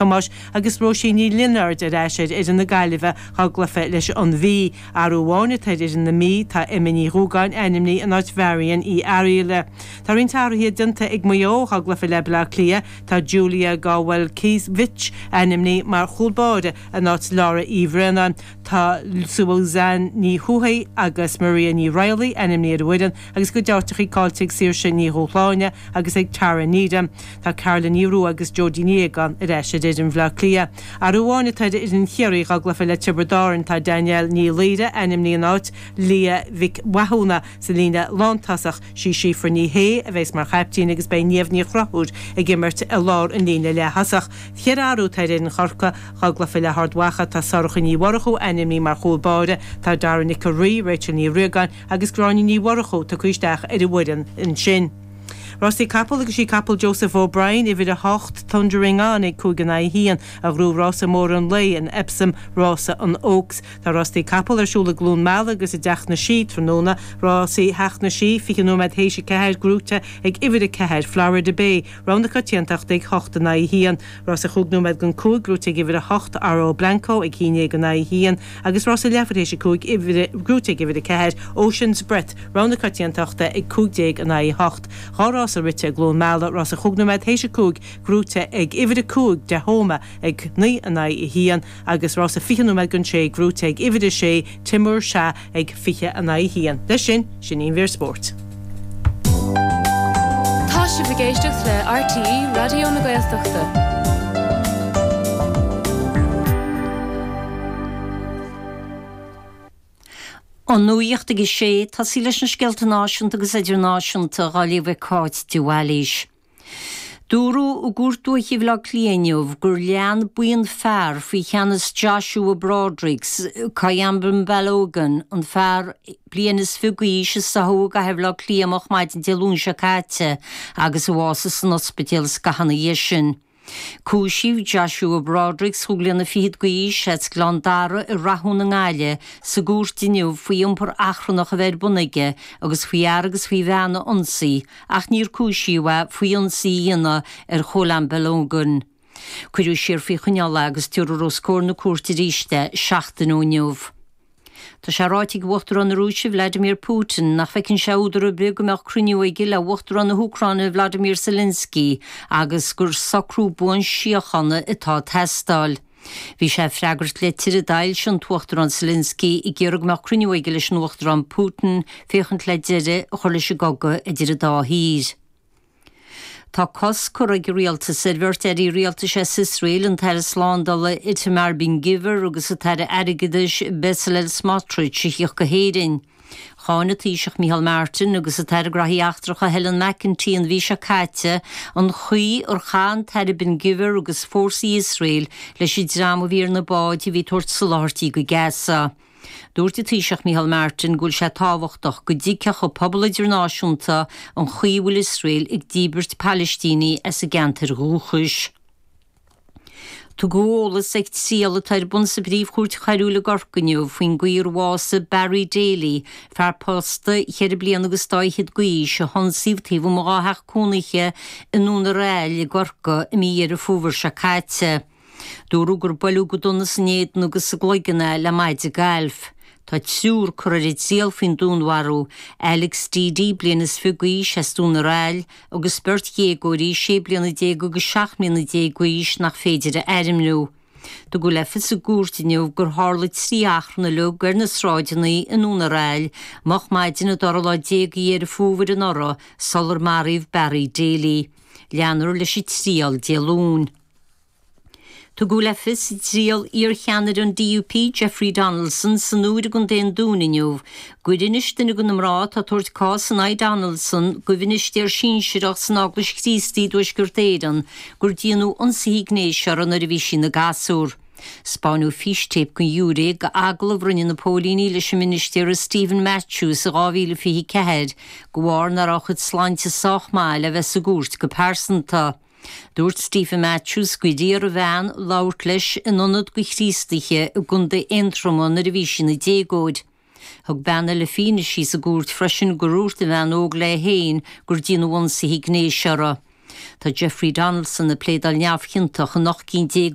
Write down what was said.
Thomáis agus Róisín Ní Lionáird ar ais ar fhoireann na Gaillimhe dhá gcluiche leis an Mhí. Athrú amháin atá ar fhoireann na Mí, tá Emma Ní Dhúgáin ainmnithe in áit Mharion Uí Fhearghaile. Tá roinnt athruithe déanta ag Maigh Eo dhá gcluiche le Baile Átha Cliath, tá Julia Gawelkiewicz ainmnithe mar chúl báire in áit Laura Uí Bhraonáin. Tá Suzanne Ní Thuathaigh agus Maria Ní Raghallaigh ainmnithe ar an bhfoireann agus a gcuid áiteachaí caillte ag Saoirse Ní Dhúshláine agus ag Tara Needham. Tá Carla Ní Rua agus Jodie Ní Aogáin ar ais ar fhoireann Bhaile Átha Cliath. Athrú amháin atá ar fhoireann Chiarraí dhá gcluiche le Tiobraid Árann. Tá Danielle Ní Laoire ainmnithe in áit Leah Mhic Mhathúna sa líne lántosach. Sí Síofra Ní Shé a bheas mar chaiptín agus beidh Niamh Ní Chonchúir ag imirt i lár an líne leath-thosach. Cheithre athrú atá ar fhoireann Chorcaí dhá gcluiche le hArd Mhacha. Tá Sorcha Ní Mhurchú ainmnithe mar chúl báire. Tá Dara Nic a' Rí, Rachel Ní Riagáin agus Gráinne Ní Mhurchú tugtha isteach ar an bhfoireann ansin. Rásaí capall agus sí capall Joseph O'Brien, uimhir 8, Thundering On ag 5 in aghaidh 1, a ghnóthaigh rása mór an lae in Epsom, rása an Oaks. Tá rástaí capall ar siúl i gCluain Meala agus i dTeach na Sí tráthnóna. Rásaí Theach na Sí, 20 nóiméad théis 4, gnóthaithe ag uimhir 4, Florida Bay, rogha na coitiantachta ag 8 in aghaidh 1. Rása chúig nóiméad don 5, gnóthaithe ag uimhir 8, Oro Blanco ag 11 in aghaidh 1 agus rása leathuair théis 5, gnóthaithe ag uimhir 4, Ocean's Breath, Rogha na coitiantachta ag 15 in aghaidh 8. Dá rása rite i gCluain Meala, rása chúig nóiméad théis a 5, gnóthaithe ag uimhir 5 Dehoma ag 9 in aghaidh 1 agus rása 20 nóiméad don 6 gnóthaithe ag uimhir 6 Timur Shah ag 20 in aghaidh 1. Leis sin, sin í an mhír spóirt. Tá sibh ag éisteacht le RTÉ Raidió na Gaeltachta. An Nuacht ag a sé, tosaí leis na scéalta náisiúnta agus idirnáisiúnta dhá léamh ag Cáit de Bhailís. Dúradh i gCúirt Dúiche Bhaile Átha Cliath inniu gur lean buíon fear faoi cheannas Joshua Brodricks, Kayamba Balogun, an fear bliain is fiche d'aois a stoitheadh i gcathair Bhaile Átha Cliath moch maidin Dé Luain seo caite agus a bhásaigh san ospidéal scaitheamh ina dhiaidh sin. Cúisíodh Joshua Brodricks, chúig bliana fichead d'aois, as Gleann Dara i Rathún i nGaillimh, sa gcúirt inniu faoi iompar achrannach a bheith ar bun aige agus faoi fhear agus faoi bhean a ionsaí ach níor cúisíodh é faoi ionsaí a dhéanamh ar Chólan Balogun. Cuireadh siar faoi choinneáil é agus tabharfar os comhair na cúirte arís é seachtain ó inniu. Tá sé ráite ag Uachtarán na Rúise Vladimir Putin nach bhfeiceann sé údar ar bith go mbeadh cruinniú aige le Uachtarán na hÚcráine Vladimir Zelensky agus gur socrú buan síochána atá ag teastáil. Bhí sé ag freagairt litir a d'fhoilsigh an tUachtarán Zelensky ag iarraidh go mbeadh cruinniú aige leis an Uachtarán Putin féachaint le deireadh a chur leis an gcogadh idir an dá thír. Tá cosc curtha ag an rialtas ar bheirt airí rialtais as Iosrael, an tAire Slándála Itamar Ben-Gvir agus an tAire Airgeadais Bezalel Smotrich, a thíocht go hÉirinn. Cháin an Taoiseach Micheál Martin agus an tAire Graithí Eachtracha Helen McEntee an mhí seo caite an chaoi ar chaith an tAire Ben-Gvir agus fórsaí Iosrael leis an dream a bhí ar na báid a bhí ag tabhairt soláthairtí go Gaza. Dúirt an Taoiseach Micheál Martin go bhfuil sé tábhachtach go dtuigfeadh an pobal idirnáisiúnta an chaoi a bhfuil Iosrael ag díbirt Palaistínigh as a gceantair dhúchais. Tugadh eolas ag triail atá ar bun sa bPríomh-Chúirt Choiriúil i gCorcaigh inniu faoin gcaoi ar bhásaigh Barry Daly, fear pósta cheithre bliana agus dá fhichead d'aois, a hionsaíodh taobh amuigh dhá theach cónaithe i nDún ar Aill i gCorcaigh i mí Dheireadh Fómhair seo caite. Dúradh gur buaileadh go dona san éadan agus sa gcloigeann é le maide gailf. Tá triúr curtha ar an triail faoin dúnmharú, Alex Deady, bliain is fiche d'aois, as Dún ar Aill, agus beirt dhéagóirí, sé bliana déag agus seacht mbliana déag d'aois, nach féidir a ainmniú. Tugadh le fios i gcúirt inniu gur tharla trí achrann uilig ar na sráideanna i nDún ar Aill moch maidin an dara lá déag de Dheireadh Fómhair anuraidh sular maraíodh Barry Daly. Leanfar leis an triail Dé Luain. Tugadh le fios i dtriail iarcheannaire an DUP, Jeffrey Donaldson, san Iúr i gContae an Dúin inniu, gur inis duine de na mná atá ag tabhairt cás in aghaidh Donaldson do mhinistéir sinsearach san Eaglais Chríostaí i dTuaisceart Éireann gur déanadh ionsaithe gnéis uirthi nuair a bhí sí ina gasúr. 'Spáineadh fístéip don ghiúiré d'agallamh a rinne na póilíní leis an ministéara Stephen Matthews i 2024 de bharr nach raibh a chuid sláinte sách maith le bheith sa gcúirt go pearsanta. Dúirt Stephen Matthews gur iarr an bhean labhairt leis in ionad do Chríostaithe i gContae Aontroma nuair a bhí sí ina déagóir. Thug bean eile fianaise sa gcúirt freisin gur dhúirt an bhean óg léi féin gur déanadh ionsaithe gnéis uirthi. Tá Jeffrey Donaldson ag pléadáil neamhchiontach in 18 cinn.